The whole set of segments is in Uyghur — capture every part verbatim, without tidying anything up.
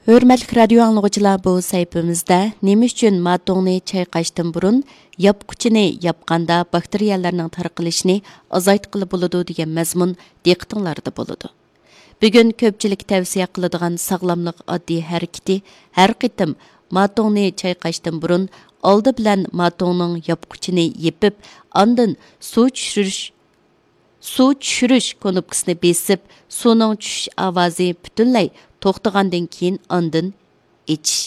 ھۆرمەتلىك رادىيو ئاڭلىغۇچىلار، بۇ سەھىپىمىزدە نېمە ئۈچۈن ماتوڭنى چايقاشتىن بۇرۇن ياپقۇچىنى ياپقاندا باكتېرىيەلەرنىڭ تارقىلىشىنى ئازايتقىلى بولىدۇ دېگەن مەزمۇن دىققىتىڭلاردا بولىدۇ. بۈگۈن كۆپچىلىك تەۋسىيە قىلىدىغان ساغلاملىق ئاددىي ھەرىكىتى، ھەر قېتىم ماتوڭنى چايقاشتىن بۇرۇن ئالدى بىلەن ماتوڭنىڭ ياپقۇچىنى يېپىپ، ئاندىن سۇ چۈشۈرۈش سۇ چۈشۈرۈش كۇنۇپكىسىنى بېسىپ، سۇنىڭ چۈشۈش ئاۋازى پۈتۈنلەي توختىغاندىن كېيىن ئاندىن ئېچىش.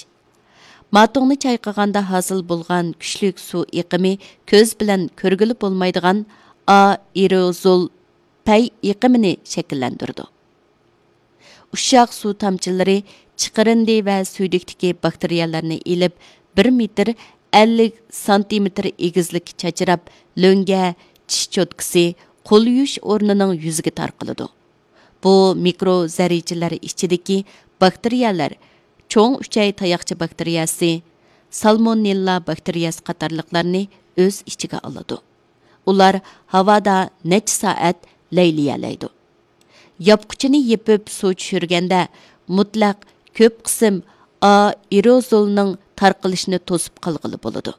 ماتوڭنى چايقىغاندا ھاسىل بولغان كۈچلۈك سۇ ئېقىمى كۆز بىلەن كۆرگىلى بولمايدىغان ئائېروزول پەي ئېقىمىنى شەكىللەندۈرىدۇ. ئۇششاق سۇ تامچىلىرى چىقىرىندى ۋە سۈيدۈكتىكى باكتېرىيەلەرنى ئېلىپ، بىر مېتىر ئەللىك سانتىمېتىر ئېگىزلىككە چاچراپ، لۆڭگە، چىش چوتكىسى، قول يۇيۇش ئورنىنىڭ يۈزىگە تارقىلىدۇ. بۇ مىكرو زەررىچىلەر ئىچىدىكى باكتېرىيەلەر چوڭ ئۈچەي تاياقچە باكتېرىيەسى، سالمونېللا باكتېرىيەسى قاتارلىقلارنى ئۆز ئىچىگە ئالىدۇ. ئۇلار ھاۋادا نەچچە سائەت لەيلىيەلەيدۇ. ياپقۇچىنى يېپىپ سۇ چۈشۈرگەندە، مۇتلەق كۆپ قىسىم ئائېروزولنىڭ تارقىلىشىنى توسۇپ قالغىلى بولىدۇ.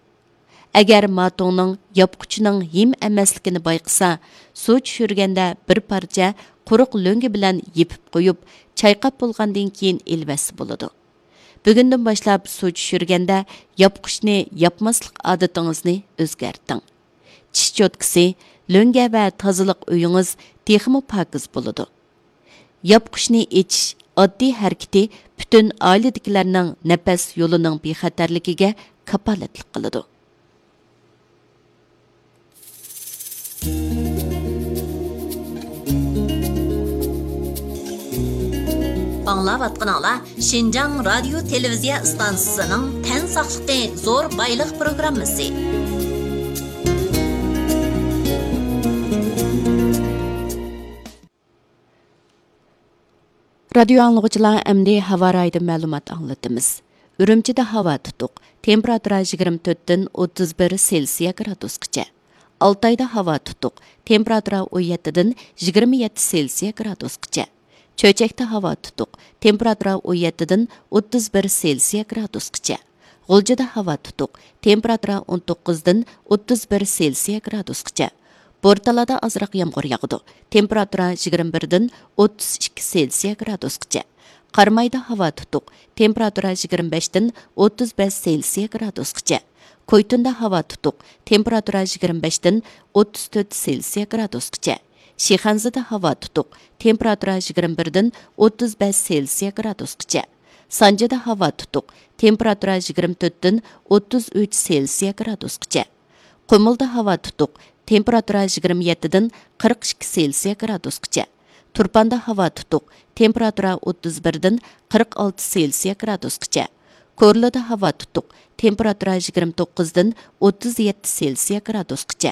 ئەگەر ماتوڭنىڭ ياپقۇچىنىڭ ھىم ئەمەسلىكىنى بايقىسا، سۇ چۈشۈرگەندە بىر پارچە قۇرۇق لۆڭگە بىلەن يېپىپ قويۇپ، چايقاپ بولغاندىن كېيىن ئېلىۋەتسە بولىدۇ. بۈگۈندىن باشلاپ سۇ چۈشۈرگەندە ياپقۇچنى ياپماسلىق ئادىتىڭىزنى ئۆزگەرتىڭ. چىش چوتكىسى، لۆڭگە ۋە تازىلىق ئۆيىڭىز تېخىمۇ پاكىز بولىدۇ. ياپقۇچنى ئېچىش ئاددىي ھەرىكىتى پۈتۈن ئائىلىدىكىلەرنىڭ نەپەس يولىنىڭ بىخەتەرلىكىگە كاپالەتلىك قىلىدۇ. ئاڭلاۋاتقىنىڭلار شىنجاڭ رادىيو تېلېۋىزىيە ئىستانسىسىنىڭ تەن ساقلىقى زور بايلىق پروگراممىسى. رادىيو ئاڭلىغۇچىلار، ئەمدى ھاۋا رايىدىن مەلۇمات ئاڭلىتىمىز. ئۈرۈمچىدە ھاۋا تۇتۇق، تېمپېراتۇرا يىگىرمە تۆتتىن ئوتتۇز بىر سېلسىيە گرادۇسقىچە. ئالتايدا ھاۋا تۇتۇق، تېمپېراتۇرا ئون يەتتىدىن يىگىرمە يەتتە سېلسىيە گرادۇسقىچە. چۆچەكتە ھاۋا تۇتۇق، تېمپېراتۇرا ئون يەتتىدىن ئوتتۇز بىر سېلسىيە گرادۇسقىچە. غۇلجىدا ھاۋا تۇتۇق، تېمپېراتۇرا ئون توققۇزدىن ئوتتۇز بىر سېلسىيە گرادۇسقىچە. بورتالادا ئازراق يامغۇر ياغىدۇ، تېمپېراتۇرا يىگىرمە بىردىن ئوتتۇز ئىككى سېلسىيە گرادۇسقىچە. قارامايدا ھاۋا تۇتۇق، تېمپېراتۇرا يىگىرمە بەشتىن ئوتتۇز بەش سېلسىيە گرادۇسقىچە. كويتۇندا ھاۋا تۇتۇق، تېمپېراتۇرا يىگىرمە بەشتىن ئوتتۇز تۆت سېلسىيە گرادۇسقىچە. شىخەنزىدە ھاۋا تۇتۇق، تېمپېراتۇرا يىگىرمە بىردىن ئوتتۇز بەش سېلسىيە گرادۇسقىچە. سانجىدا ھاۋا تۇتۇق، تېمپېراتۇرا يىگىرمە تۆتتىن ئوتتۇز ئۈچ سېلسىيە گرادۇسقىچە. قۇمۇلدا ھاۋا تۇتۇق، تېمپېراتۇرا يىگىرمە يەتتىدىن قىرىق ئىككى سېلسىيە گرادۇسقىچە. تۇرپاندا ھاۋا تۇتۇق، تېمپېراتۇرا ئوتتۇز بىردىن قىرىق ئالتە سېلسىيە گرادۇسقىچە. كورلىدا ھاۋا تۇتۇق، تېمپېراتۇرا يىگىرمە توققۇزدىن ئوتتۇز يەتتە سېلسىيە گرادۇسقىچە.